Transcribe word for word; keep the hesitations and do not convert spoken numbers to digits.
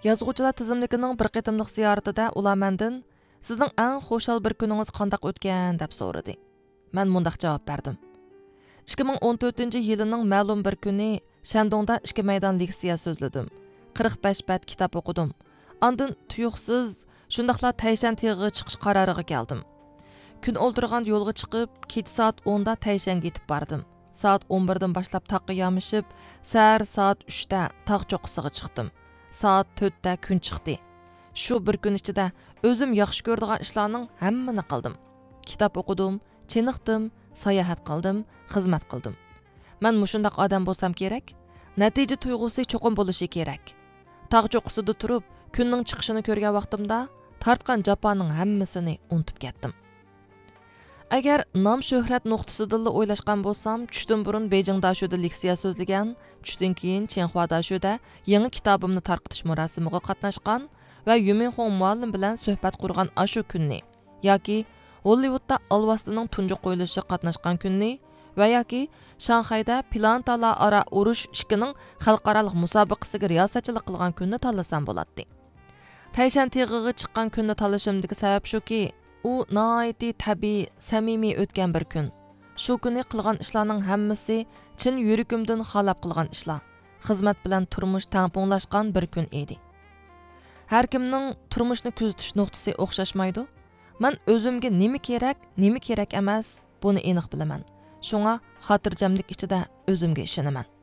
يازغۇچىلار تىزىملىكىنىڭ بىر قېتىملىق زىيارىتىدە ئۇلار مەندىن، «سىزنىڭ ئەڭ خۇشال بىر كۈنىڭىز قانداق ئۆتكەن؟» دەپ سورىدى. مەن مۇنداق جاۋاب بەردىم: «ئىككى مىڭ ئون تۆتىنچى يىلىنىڭ مەلۇم بىر كۈنى شەندۇڭدا ئىككى مەيدان لېكسىيە سۆزلىدىم. قىرىق بەش بەت كىتاب ئوقۇدۇم. ئاندىن تۇيۇقسىز شۇنداقلا تەيشەن تېغىغا چىقىش قارارىغا كەلدىم. كۈن ئولتۇرغان يولغا چىقىپ، كېچە سائەت ئوندا تەيشەنگە يېتىپ باردىم. سائەت ئون بىردىن باشلاپ تاغقا يامىشىپ، سەھەر سائەت ئۈچتە تاغ چوققىسىغا چىقتىم. سائەت تۆتتە كۈن چىقتى. شۇ بىر كۈن ئىچىدە ئۆزۈم ياخشى كۆرىدىغان ئىشلارنىڭ ھەممىنى قىلدىم. كىتاب ئوقۇدۇم، چېنىقتىم، ساياھەت قىلدىم، خىزمەت قىلدىم. مەن مۇشۇنداق ئادەم بولسام كېرەك. نەتىجە تۇيغۇسى چوقۇم بولۇشى كېرەك. تاغ چوققىسىدا تۇرۇپ، كۈننىڭ چىقىشىنى كۆرگەن ۋاقتىمدا تارتقان جاپانىڭ ھەممىسىنى ئۇنتۇپ كەتتىم.» ئەگەر نام شۆھرەت نۇقتىسىدىنلا ئويلاشقان بولسام، چۈشتىن بۇرۇن بېيجىڭ داشۆدە لېكسىيە سۆزلىگەن، چۈشتىن كېيىن چىڭخۇا داشۆدە يېڭى كىتابىمنى تارقىتىش مۇراسىمىغا قاتناشقان ۋە يۈمىنخۇڭ مۇئەللىم بىلەن سۆھبەت قۇرغان ئاشۇ كۈننى ياكى ھوللىۋۇدتا ئالۋاستىنىڭ تۇنجى قويۇلۇشىغا قاتناشقان كۈننى ۋە ياكى شاڭخەيدە پىلانېتالار ئارا ئۇرۇش ئىككىنىڭ خەلقئارالىق مۇسابىقىسىگە رىياسەتچىلىك قىلغان كۈننى تاللىسام بولاتتى. تەيشەن تېغىغا چىققان كۈننى تاللىشىمدىكى سەۋەب شۇكى، ئۇ ناھايىتى تەبىئىي، سەمىمىي ئۆتكەن بىر كۈن. شۇ كۈنى قىلغان ئىشلارنىڭ ھەممىسى چىن يۈرىكىمدىن خالاپ قىلغان ئىشلار، خىزمەت بىلەن تۇرمۇش تەڭپۇڭلاشقان بىر كۈن ئىدى. ھەركىمنىڭ تۇرمۇشنى كۆزىتىش نۇقتىسى ئوخشاشمايدۇ. مەن ئۆزۈمگە نېمە كېرەك، نېمە كېرەك ئەمەس، بۇنى ئېنىق بىلىمەن. شۇڭا خاتىرجەملىك ئىچىدە ئۆزۈمگە ئىشىنىمەن.